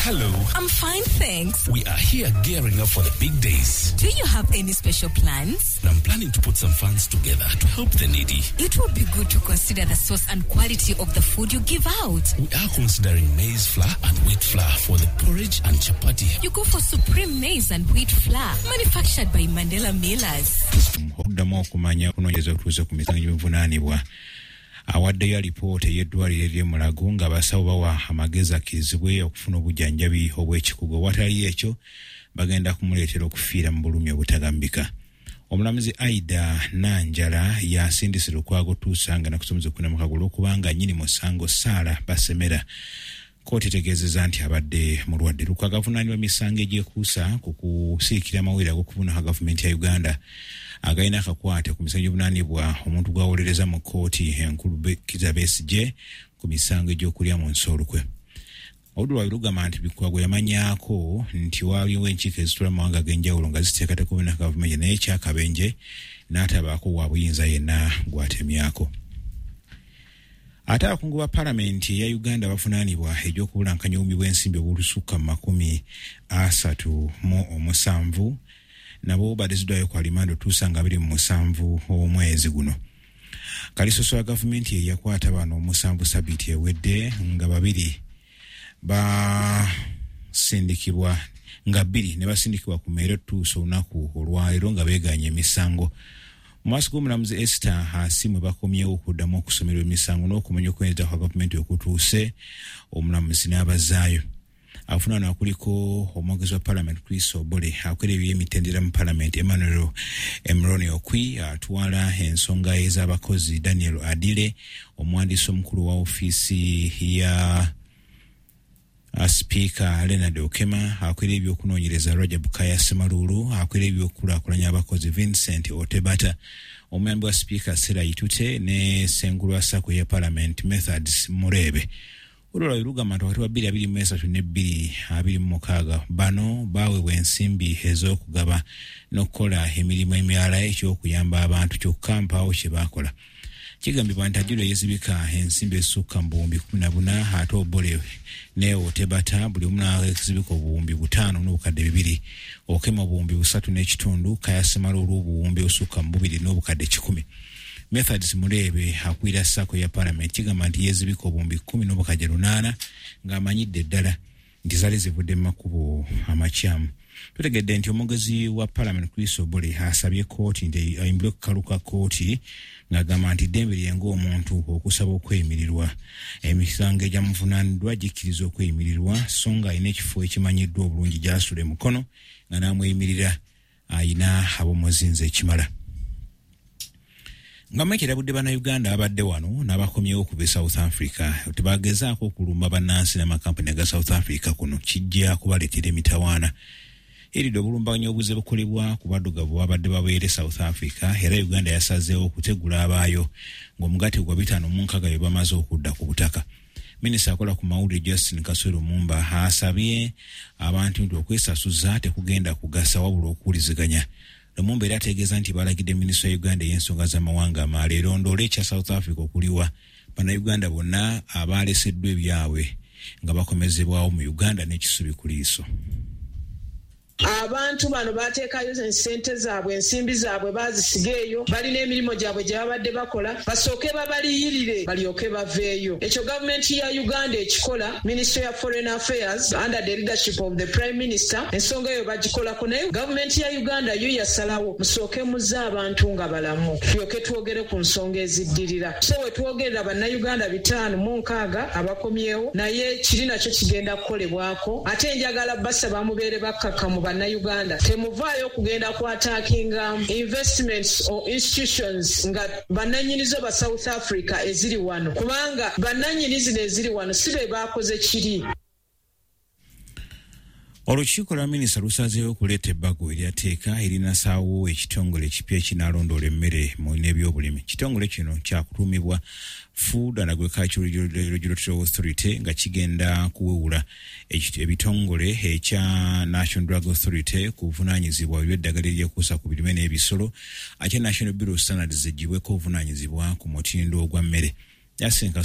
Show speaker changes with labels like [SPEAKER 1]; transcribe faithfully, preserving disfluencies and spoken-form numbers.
[SPEAKER 1] Hello.
[SPEAKER 2] I'm fine, thanks.
[SPEAKER 1] We are here gearing up for the big days.
[SPEAKER 2] Do you have any special plans?
[SPEAKER 1] I'm planning to put some funds together to help the needy.
[SPEAKER 2] It would be good to consider the source and quality of the food you give out.
[SPEAKER 1] We are considering maize flour and wheat flour for the porridge and chapati.
[SPEAKER 2] You go for Supreme Maize and Wheat Flour, manufactured by Mandela Millers.
[SPEAKER 3] Okuddamu okumanya okunoonyereza okutuuse ku misango gy'obuvunaanibwa awaddeyo alipoota ey'eddwaliro ery'e Mulago ng'abasawo bawa amagezi akkirizibwe okufuna obujjanjabi obw'ekikugu, watali ekyo bagenda kumuleetera okufiira mu bulumi obutagambika. Omulamuzi Aida Nanjala yasindise Lukwago tuusa nga nakusomeza okuna mukago olw'okubanga nnyini musango Saala Basemera kkooti etegeezezza nti abadde mulwadde. Lukwago avunaanibwa misango egyekuusa ku kusiikira amawulire ag'okuvunaka gavumenti ya Uganda agalina akakwate ku misango gy'obuvunaanibwa omuntu gw'awolereza mu kkooti enkulu Kizza Besigye ku misango egy'okulya mu nsi olukwe. Oludda lwabwe lugamba nti Lukwago yamanyaako nti waaliwo enkiiko ezituula mu mawanga ag'enjawulo nga ziteekateeka okuvunaka gavumenti, naye ekyakabenje n'atabaako wa buyinza yenna gw'atemyako. Ate abakungu ba palamenti eya Uganda bavunaanibwa egy'okubulankanya obuwumbi bw'ensimbi obulusukka mu makumi asatu mu omusanvu nabo baleziddwayo ku alimanda otuusa nga abiri mu musanvu omwezi guno. Kalisoso wa gavumenti ye yakwata bano omusanvu sabiiti ewedde nga babiri basindikibwa nga bbiri ne basindikibwa ku meere otuusa olunaku olwaleero nga beeganye emisango. Mu maaso g'omulamuzi Esther Asiimwe bakomyewo okuddamu okusomerwa emisango n'okumanya okweneza kwa gavumenti okutuuse omulamuzi n'abazaayo. Avunaanwa kuliko omwogezi wa palamenti Chris Obore, akwera ebyemitendera mu palamenti Emmanuel Emroni Okwi, atwala ensonga ez'abakozi Daniel Adile, omuwandiisi omukulu wa ofiisi ya sipiika Leonard Okema, akwera ebyokunoonyereza Rajab Kaya Semaluulu, akwera ebyokukulaakulanya abakozi Vincent Otebata, omuyambi wa sipiika Sera Itute ne ssengulu wa SACCO ya palamenti Methods Murebe. Olwo lugamba nti wakati wa bbiri abiri mu esatu ne bbiri abiri mu mukaaga bano baaweebwa ensimbi ez'okugaba n'okukola emirimu emirala eky'okuyamba abantu, kyokka mpaawo kye baakola. Kigambibwa nti Ajula yeezibika ensimbi ezisukka mu buwumbi kkumi na buna, ate Obore ne Otebata buli omu n'azibika obuwumbi butaano n'obukadde bibiri, Okema obuwumbi busatu n'ekitundu, Kaya Semaluulu obuwumbi obusukka mu bubiri n'obukadde kikumi. Methods Murebe akwira SACCO ya palamenti kigamba nti yeezibika obuwumbi kkumi n'obukadde lunaana ng'amanyidde ddala nti zaali zivudde mu makubo amakyamu. Tutegedde nti omwogezi wa palamenti Chris Obore asabye kkooti nti ayimbulwe ku kakalu ka kkooti ng'agamba nti ddembe lye ng'omuntu okusaba okweyimirirwa. Emisango egyamuvunaaniddwa gikkiriza okweyimirirwa, so nga alina ekifo ekimanyiddwa obulungi gy'asula e Mukono nga n'amweyimirira ayina ab'omuzinzi ekimala. Nga Mike erabudde bannayuganda abadde wano n'abakomyewo okuva e South Africa tebagezaako okulumba bannansi n'amakampani aga South Africa, kuno kijja kubaleetera emitawaana. Eridde obulumbaganyi obuze bukolebwa ku baddugavu babadde babeere South Africa, era Uganda yasazeewo okutegula abaayo ng'omugatte gwa bitaano mu nkaaga bye bamaze okudda ku butaka. Minisita akola ku mawulire Justin Kaswero Mumba asabye abantu nti okwesasuza tekugenda kugasa wabula okuwuliziganya. Lumumba era ategeeza nti balagidde minisitule ya Uganda ey'ensonga z'amawanga amalala erondoole ekya South Africa okuliwa bannayuganda bonna abaaleseddwa ebyabwe nga bakomezebwawo mu Uganda n'ekisubi ku liiso.
[SPEAKER 4] Abantu bano bateekayo ensente zaabwe, ensimbi zaabwe baazisiga eyo, balina emirimu gyabwe gye babadde bakola, basooke babaliyirire balyoke baveeyo. Ekyo gavumenti ya Uganda ekikola, Ministry ya Foreign Affairs under the leadership of the Prime Minister, ensonga eyo bagikolako, naye gavumenti ya Uganda yo yasalawo musooke muzze abantu nga balamu tulyoke twogere ku nsonga eziddirira. So we twogerera bannayuganda bitaano mu nkaaga abakomyewo, naye kiri nakyo kigenda kukolebwako. Ate njagala basaba mubeere bakkakkamu bannayuganda, temuvaayo okugenda ku attackinga investments or institutions nga bannannyinizo ba South Africa eziri wano, kubanga bannannyini zino eziri wano si be baakoze kiri.
[SPEAKER 3] Olukiiko lwa minisita lusazeewo okuleeta ebbago eryateeka erinasaawo ekitongole ekipya ekinaalondoola emmere mu n'ebyobulimi. Kitongole kino kyakutuumibwa Food and Agricultural Regulatory Authority nga kigenda kuwewula ebitongole ekya National Drug Authority ku buvunaanyizibwa eby'eddagala eryekuusa ku birime n'ebisolo, ate National Bureau of Standards eggyibweko obuvunaanyizibwa ku mutindo ogwa mmere. Yasenka